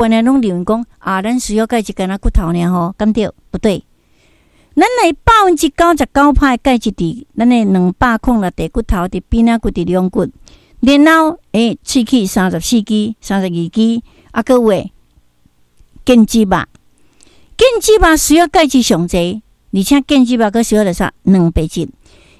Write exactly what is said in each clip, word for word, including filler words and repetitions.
般的攏認為講啊，咱需要鈣質干焦骨頭爾吼，敢對？不對。咱的百分之九十九趴的鈣質佇咱的兩百空六塊骨頭，佇邊仔骨、佇龍骨，然後欸，喙齒三十四支、三十二支，啊，閣有的腱子肉，腱子肉需要鈣質上濟，而且腱子肉閣需要著啥？蛋白質。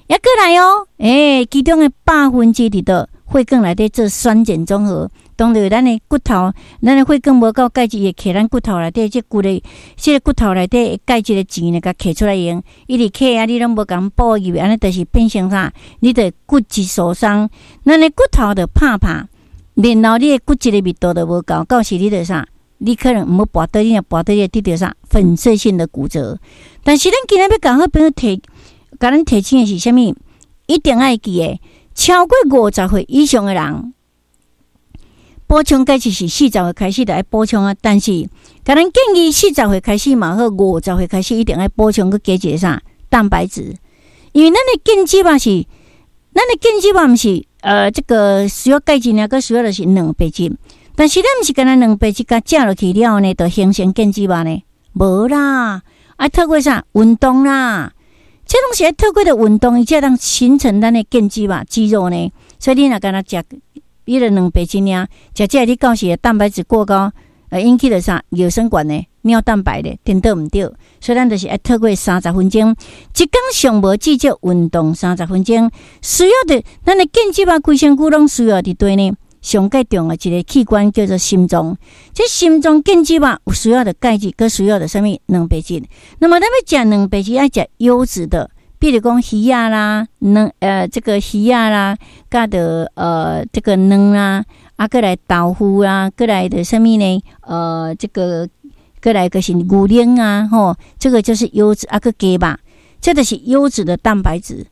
猶閣來哦，欸，其中的百分之佇佗血管內底做酸鹼中和，當著咱的骨頭，咱的血管無夠鈣質，會揢咱骨頭內底這骨的，這個骨頭內底鈣質的錢呢，共揢出來用，一直揢啊，你攏無共補入去，按呢就是變成啥？你的骨質疏鬆，咱的骨頭就拍拍，然後你的骨質的密度就無夠，到時你就啥？你可能毋好跋倒，你若跋倒，你會得著啥？粉碎性的骨折。但是咱今仔欲共好朋友提，共咱提醒的是啥物？一定愛記得，超過五十歲以上的人，補充鈣質是四十歲開始就愛補充啊。但是，共咱建議四十歲開始嘛好，五十歲開始一定愛補充閣加一個啥？蛋白質。因為咱的腱子肉是，咱的腱子肉毋是，呃，這個需要鈣質爾，閣需要的是蛋白質。但是咱毋是干焦蛋白質共食落去了呢，就形成腱子肉呢？無啦，愛透過啥？運動啦。這攏是愛透過著運動，伊才會當形成咱的腱子肉肌肉呢。所以你若干焦食，彼个蛋白質爾，食這你到時蛋白質過高，呃，引起著啥？尿酸懸的尿蛋白的，顛倒毋對。所以咱就是愛透過三十分鐘，一工上無至少運動三十分鐘，需要著咱的腱子肉規身軀攏需要佇佗呢。上蓋重要一個器官叫做心臟，這心臟腱子肉有需要著鈣質，閣需要著啥物蛋白質。那麼咱欲食蛋白質，愛食優質的，比如講魚仔啦，卵呃，這個魚仔啦，佮著呃這個卵啦，啊，閣來豆腐啊，閣來著啥物呢？呃，這個閣來就是牛奶啊，吼，這個就是優質啊，閣雞肉，這就是優質的蛋白質。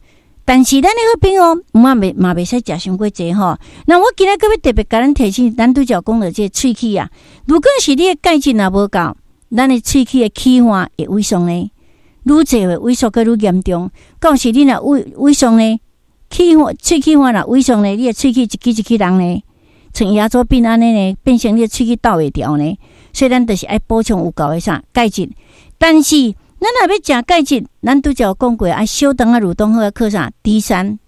但是咱的好朋友，嘛袂嘛袂使食傷過濟吼。那我今仔閣欲特別共咱提醒，咱拄才講著這個喙齒啊，如果是你的鈣質若無夠，咱的喙齒的齒岸會萎縮呢，愈濟會萎縮閣愈嚴重。到時你若萎萎縮呢，齒岸喙齒岸若萎縮呢，你的喙齒一支一支人呢，像牙周病按呢呢，變成你的喙齒鬥會牢呢。所以咱就是愛補充有夠的啥鈣質，但是，咱若欲食鈣質，咱拄才有講過，愛小腸仔蠕動好，靠啥？D 三。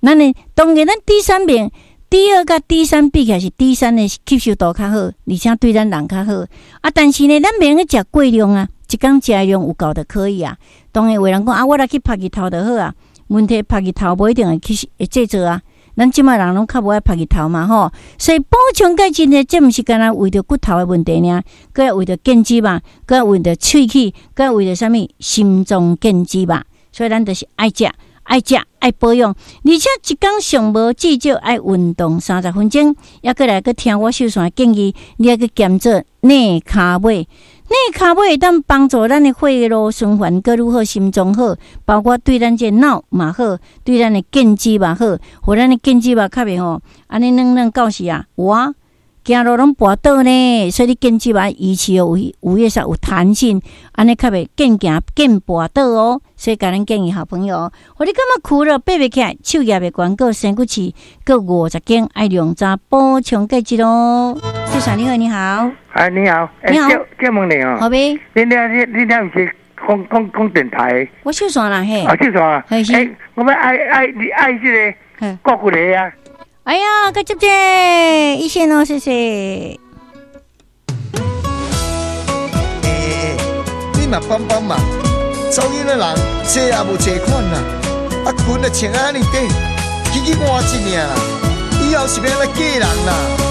咱的當然，咱 D 三面 D 二佮 D 三比起來，是 D 三的吸收度較好，而且對咱人較好。啊，但是呢，咱袂用食過量啊，一工食的量有夠就可以啊。當然有人講啊，我來去曝日頭就好啊。問題曝日頭無一定會去會製造啊。咱這擺人攏較無愛曝日頭嘛吼，所以補充鈣質呢，這毋是干焦為著骨頭的問題爾，閣愛為著腱子肉，閣愛為著喙齒，閣愛為著啥物心臟腱子肉，所以咱就是愛食、愛食、愛保養，而且一工上無至少愛運動三十分鐘，猶閣來閣聽我秀璇的建議，你愛去兼做內跤尾。內跤尾會當幫助咱的血路循環閣愈好，心臟好，包括對咱這腦嘛好，對咱的腱子嘛好，予咱的腱子肉較袂吼，按呢軟軟到時啊，有啊，行路攏跋倒呢，所以你腱子肉維持有有彼啥有彈性，按呢較袂見行見跋倒哦。所以共咱建議好朋友，予你感覺苦了爬袂起來，手舉袂懸，閣生骨刺，閣五十斤愛量早補充鈣質哦。先生你好，你好。哎，你好，你好，借問你哦。好唄。你你你你毋是講講講電台？我秀璇啦，嘿。啊，秀璇啊。欸，我欲愛愛你愛這個郭骨啊。哎呀，閣接這一線哦，謝謝。欸欸欸，你嘛幫幫忙，走音的人濟也無濟款啦，啊裙就穿按呢短，起去換一領啦，以後是欲按怎嫁人啦？